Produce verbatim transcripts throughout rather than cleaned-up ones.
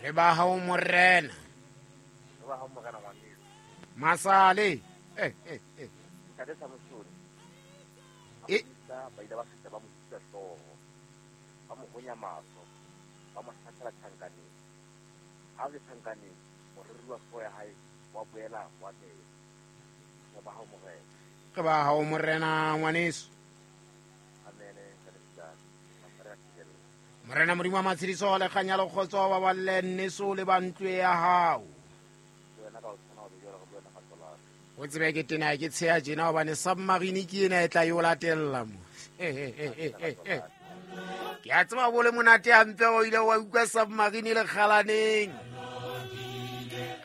Re ba hao morena. Re ba hao morena ngwaneso. Masale. Eh eh eh. Ntate Samsone. E ba ile ba fihla ba mo sisa hlooho. Ba mo honya mahlo. Ba mo hlahlela tjhankaneng. Ha le tjhankaneng, moriri wa hlooho ya hae wa boela wa mela. Re ba hao morena. Re ba hao morena ngwaneso. Amen. Morena Modimo wa matshediso le kganya le kgotso ba balle nneso le ba ntlo ya hao. O tsebe ke tena ke tsheya tjena hobane submarine ke ena e tla yo latella mo. Ke a tseba bo le monate hampe o ile wa utlwa submarine le kgalaneng.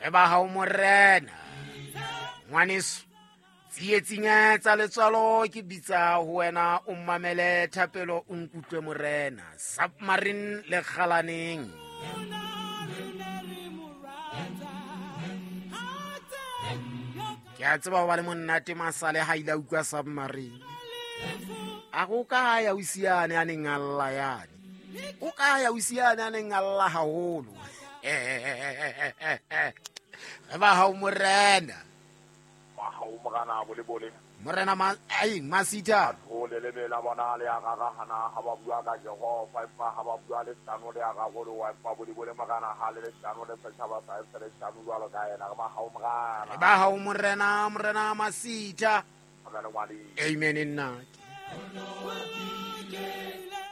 Re ba hao morena. Ngwaneso, tsietsing tsa letswalo ke bitsa ho wena o mmamele thapelo o nkutlwe morena. Submarine le kgalaneng. Ke a tseba ho ba le monate masale ha ile a utlwa submarine. A go ka ya o siane a neng a lla yane. O ka ya o siane a neng a lla haholo. Re ba hao morena. Morena bole bole. Morena ma ai masita. O le lebela bona le a rarahana ha ba bua ka Jehova empa ha ba bua le hlano le a rarolo wa empa bole bole morena ha le hlano le setjhaba sa le hlano jwalo ka yena re ba hao morena. Re ba hao morena morena masita. Amen nna.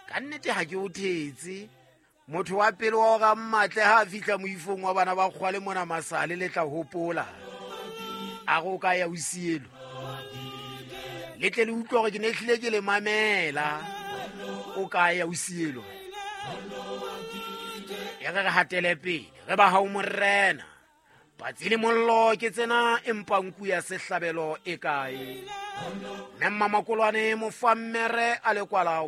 Ka nnete ha ke o thetse. Motho wa pele wa hore a mmatle ha a fihla moifong wa bana ba kgwale mona masale le tla hopola. A go ka ya o sielo. Le tle le utlwe hore ke ne hlile ke le mamela. O ka ya o sielo. E re re hatele pele. Re ba hao morena. Patsi le mollo ke tsena empa nku ya sehlabelo e kae? Mme Mmakolwane mofammere a le kwala